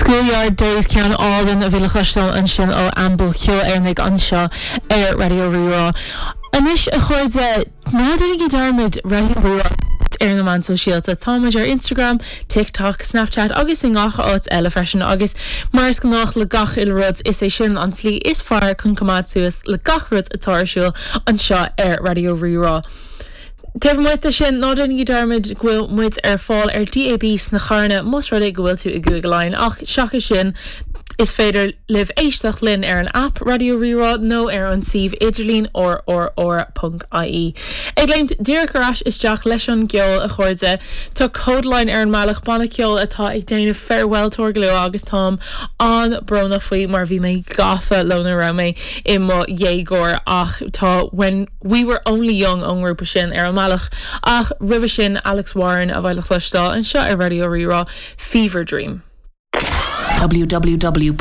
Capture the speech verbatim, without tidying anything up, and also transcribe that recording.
Schoolyard Days ceann álainn a bhí le cloisteáil ansin ó Amble Ceol Éireannach anseo ar Raidió Rí-Rá. Anois a chairde ná déanaigí dearmad Raidió Rí-Rá ar na meáin sóisialta Táimid ar Instagram, TikTok, Snapchat agus i ngach áit eile freisin agus mar is gnách le gach uile rud is é sin an tslí is fearr chun coimeád suas le gach rud atá ar siúl anseo ar Raidió Rí-Rá. Taobh amuigh de sin ná déanaigí dearmad go bhfuil muid ar fáil ar DAB sna carranna más rud é go bhfuil tú i gCúige Laighean ach seachas sin is féidir libh éisteacht linn ar an app Raidió Rí-Rá nó ar an suíomh idirlín rrr.ie. Ag léimt díreach ar ais isteach leis an gceol a chairde Tá Kodaline ar an mbealach banna ceoil atá ag déanamh farewell tour go luath agus táim an-bhrónach faoi mar bhí mé gafa leo nuair a bhí mé i mo dhéagóir ach tá when we were only young ón ngrúpa sin ar an mbealach ach roimhe sin Alex Warren a bheidh le cloisteáil anseo ar Raidió Rí-Rá Fever Dream. www.rrr.ie